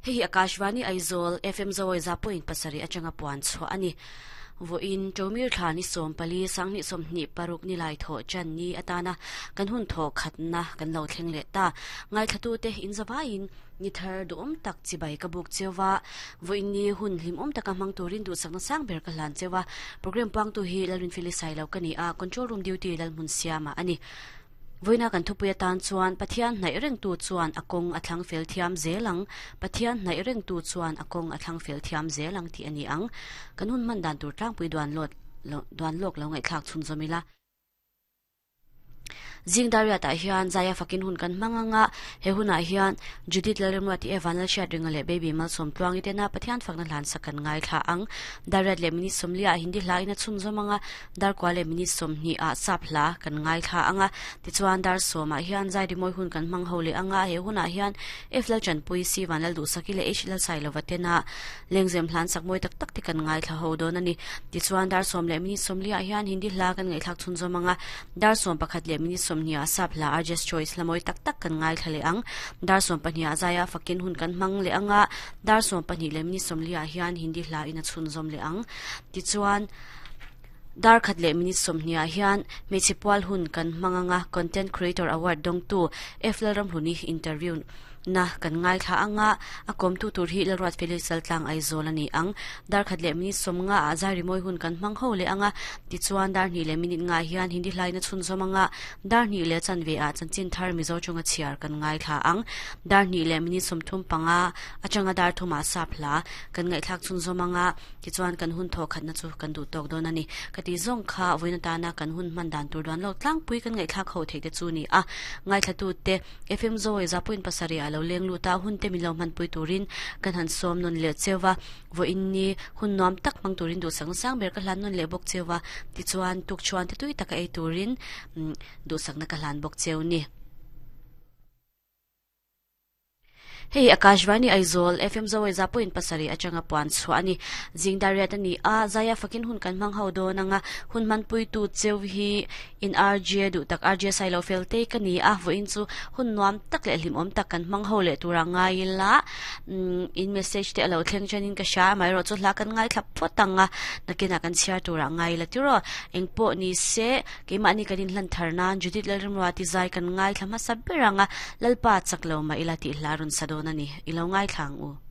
Hei hi Akashvani Aizawl FM Zawi za point pasarih atanga puan chhuah a ni. Vawiin Ṭomir thla ni 14 2026 nilai thawh ṭan ni atana kan hun thawh khatna kan lo thleng leh ta. Ngaithlatute inzavaiin ni thar duhawm tak chibai ka buk cheu va, vawiin ni hun hlimawm taka hmang turin duhsakna sang ber ka hlan cheu a. Programme puangtu hi Lalrinfeli Sailo ka ni a, Control Room Duty Lalhmun Siama a ni. Vawiina kan thupui atan chuan Pathian hnaih rengtu chuan a kawng a thlang fel thiam zel ang, Pathian hnaih rengtu chuan a kawng a thlang fel thiam zel ang tih a ni ang. Kan hun hman dan tur tlangpui duan lawt duan lawk lo ngaihthlak chhunzawm ila. Zing Dariat-ah hian Zaia fakin hun kan hmang ang a, he hunah hian Judith Lalremruati e Vanlalhriatringa leh Baby Malsawm Tluangi tena Pathian fakna hlansak kan ngaithla ang. Dariat leh minute 40 ah Hindi hla in a chhunzawm ang a, Darkua leh minute 20 ah sap hla kan ngaithla ang a, tichuan dar 10 ah hian zai rimawi hun kan hmang ho leh ang a, he hunah hian F Lalchanpui, C Vanlalduhsaki leh H Lalsailova tena lengzem hlan sak mawi tak tak te kan ngaithla ho dawn a ni. Tichuan dar 10 leh minute 40 ah hian Hindi hla kan ngaihthlak chhunzawm ang a, dar 11 leh minute 20 ah sap hla Arjes Choice hla mawi tak tak kan ngaithla leh ang. Dar 12 ah zaia fakin hun kan hmang leh ang a, dar 12 leh minute 40 ah hian Hindi hla in a chhunzawm leh ang. Tichuan. Dar khat leh minute 20 ah hian hmeichhe pual hun kan hmang anga Content Creator Award dawngtu F Lalramhluni interview na kan ngaithla anga a kawmtu tur hi Lalruat Felix Laltlang Aizawl a ni ang. Dar khat leh minute 50 ah zai rimawi hun kan hmang ho leh anga tichuan dar hnih leh minute nga hian Hindi hlaina chhunzawm anga dar hnih leh chanve ah chanchin thar Mizo chunga chhiar kan ngaithla ang. Dar hnih leh minute 35 atanga dar thum ah sap hla kan ngaihthlak chhunzawm anga Tichuan kan hun thawh khatna chu kan duh tawk dawn a ni. Ka tih zawng kha vawiin atana kan hun hman dan tur duan lawk tlangpui kan ngaihthlak ho theih te chu ni a. Ngaithlatute FM Zawi za point pasarih ah lo leng lut a, hun te min lo hmanpui turin kan han sawm nawn leh cheu va. Vawiin ni hun nuam tak hmang turin duhsakna sang ber ka hlan nawn leh bawk cheu va. Tichuan tukchhuan te tui taka ei turin duhsakna ka hlan bawk cheu ni. Hei Akashvani Aizawl FM Zawai za point pasarih atanga puan chhuah a ni. Zing dar riat a ni a, Zaia fakin hun kan hmang ho dawn anga hun hmanpuitu cheu hi in RJ duh tak RJ Sailo fel te ka ni a, vawiin chu hun nuam tak leh hlimawm tak kan hmang ho leh tura ngai ila in message te a lo thleng chanin ka hria amaherawh chu hla kan ngaithla phawt ang a, nakinah kan chhiar tura ngai ila tiraw engpawh ni se. Keimahni kan inhlan thar nan Judith Lalrimruati zai kan ngaithla hmasa ber ang a, Lalpa chak lo mah ila tih hla rawn sa dawn a ni. I lo ngaithla ang u.